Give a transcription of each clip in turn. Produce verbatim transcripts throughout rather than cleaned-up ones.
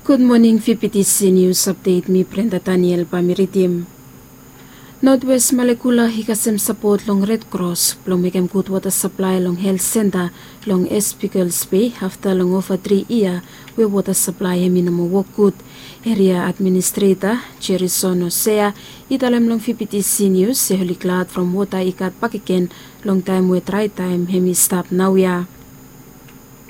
Gud moning, V P T C News Update, mi Brenda Daniel bae mi ridim. Notwest Malekula i kasem sapot long Red Cross blong mekem gud wota saplae long helt senta long Espigels Bay afta long ova tri yia we wota saplae hemi no moa wok gud. Eria administreta Jerison Osea i talem long V P T C Nius se oli glad from wota i gat bakegen long taem we drae taem hemi stap naoia.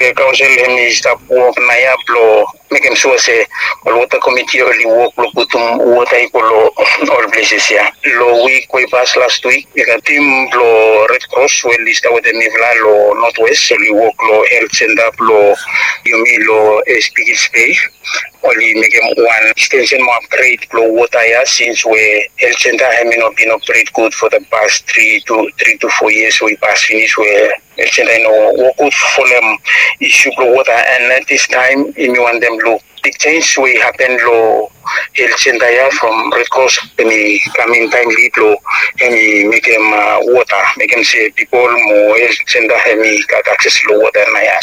Kaonsel hemi stap wok naoia blong mekem sua se ol wota komiti oli wok blong putum wota i go long ol pleses ya. Long wik we i pas last wik i gat tim blong Red Cross we oli stap wetem mifala long Notwest oli wok long helt senta blong yumi long Espigels Bay. Oli mekem wan ekstensen mo apgred blong wota ya sins we helt senta hemi no bin apgred gud fo the past tri to tri to fo yias we i pas finis we helt senta i no wok gud folem isu blong wota. And at this time yumi wantem luk big jenj we i hapen long helt senta ya from Red Cross hemi kam in taemli blong hemi mekem wota mekem se pipol mo helt senta hemi gat akses long wota naoia.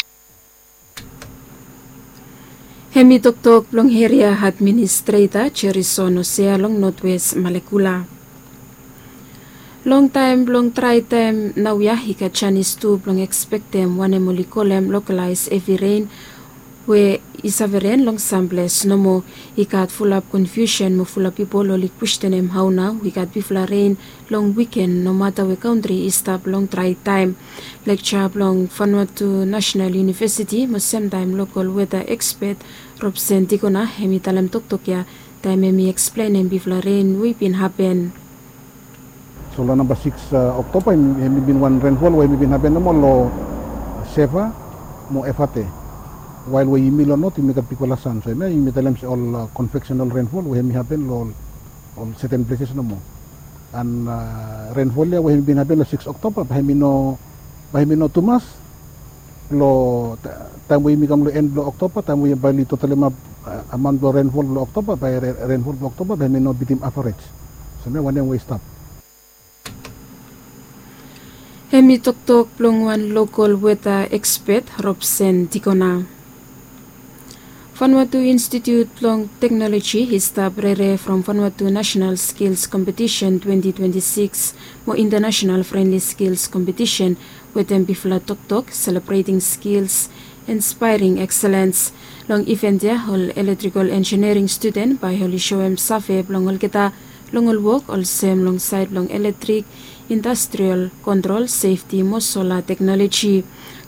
Hemi toktok blong eria administreta Jerison Osea long Notwest Malekula. Long taem blong drae taem naoia i gat janis tu blong ekspektem wanem oli kolem lokalaes hevi ren we i save ren long samples nomo. I gat fulap konfiusen mo fulap pipol oli kwestenem hao nao i gat bigfala ren long wiken nomata we kantri i stap long drae taem. Lekja blong Vanuatu Nasenal Iunivesiti mo semtaem lokol weta ekspet Robson Dikona hemi talem toktok ya taem hemi eksplenem bigfala ren we i bin hapen. So long namba sikis Oktoba hemi bin wan renfol we hemi bin hapen nomo long Seva mo Evate. Wael we yumi long not yumi gat bigfala san so hemia yumi talem se ol konveksenal renfol we hemi hapen long ol seten pleses nomo. An renfol ya we hemi bin hapen long sikis Oktoba bae hemi no bae hemi no tumas long taem we yumi kam long en blong Oktoba taem we bae oli totalimap amaon blong renfol blong Oktoba bae renfol blong Oktoba bae hemi no bitim avarej. So hemia wanem we i stap. Hemi toktok blong wan lokol weta ekspet Robson Dikona. Vanuatu Institut blong Teknoloji i stap rere from Vanuatu Nasenal Skils Kompetisen twenti twenti sikis mo Intanasenal Frenli Skils Kompetisen wetem bigfala toktok selebreting skils, inspaering ekselens. Long iven ya ol eletrikol enjiniering studen bae oli soem save blong olgeta long ol wok olsem long saed blong eletrik, indastrial kontrol, sefti mo sola teknoloji.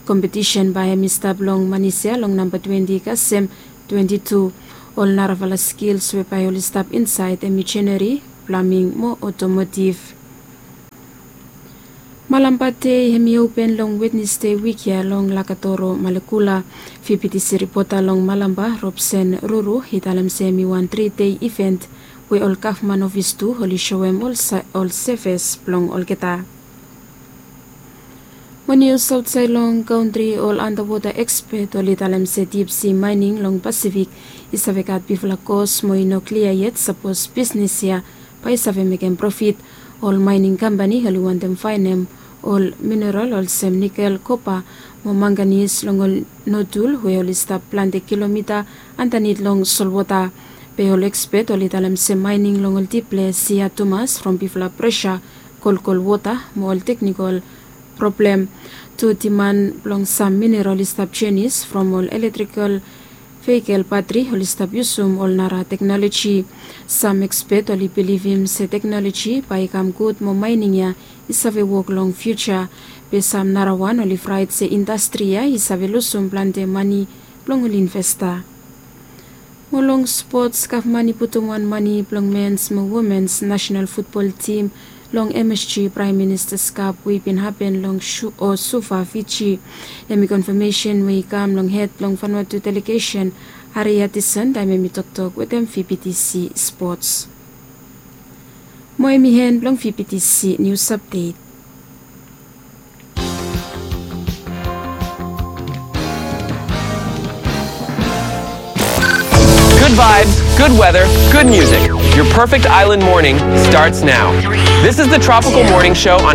Kompetisen bae hemi stap long Manis ya long namba twenti kasem twenti tu. Ol narafala skils we bae oli stap insaed hemi jeneri, plaming mo otomotiv. Malampa Dei hemi open long Wednesde wik ya long Lakatoro, Malekula. V P T C ripota long Malampa, Robson Ruru, i talem se hemi wan tri dei iven we ol gavman ofis tu oli soem ol sevis blong olgeta. Mo nius aotsaed long kantri, ol antawota ekspet oli talem se dipsi maening long Pasifik i save gat bigfala kos mo i no klia yet sapos bisnis ya bae i save mekem profit. Ol maening kampani oli wantem faenem ol mineral olsem nikel, kopa mo manganis long ol notul we oli stap plante kilomita andanit long solwota. Be ol ekspet oli talem se maening long ol dip ples i had tumas from bigfala presa, kolkol wota mo ol teknikol problem. Tu diman blong sam mineral i stap jenis from ol eletrikol vehikel batri oli stap yusum ol nara teknoloji. Sam ekspet oli bilivim se teknoloji bae i kam gud mo maening ya i save wok long fiuja. Be sam narawan oli fraet se indastri ya i save lusum plante mane blong ol investa. Mo long spots, gavman i putum wan mane blong mens mo womens nasenal futbol tim long M S G Praem Ministas Kap we i bin hapen long Suva, Fiji. Hemi konfamesen we i kam long hed blong Vanuatu delegesen, Harry Hutchison, taem hemi toktok wetem V P T C Spots. Mo hemi en blong V P T C Nius Apdet. Good vibes, good weather, good music. Your perfect island morning starts now. This is the Tropical Morning Show on